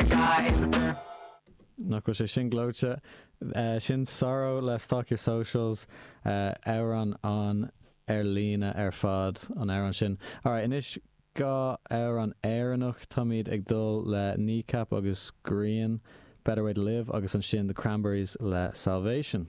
Die. Nach bhfuil sé sin gleoite? Sin Sorrow le Stalk Your Socials, amhrán an ar líne ar fad, an amhrán sin. Alright, anois 2 amhrán Éireannach. Táimid ag dul le Kneecap agus Grian, Better Way to Live, agus ansin The Cranberries le Salvation.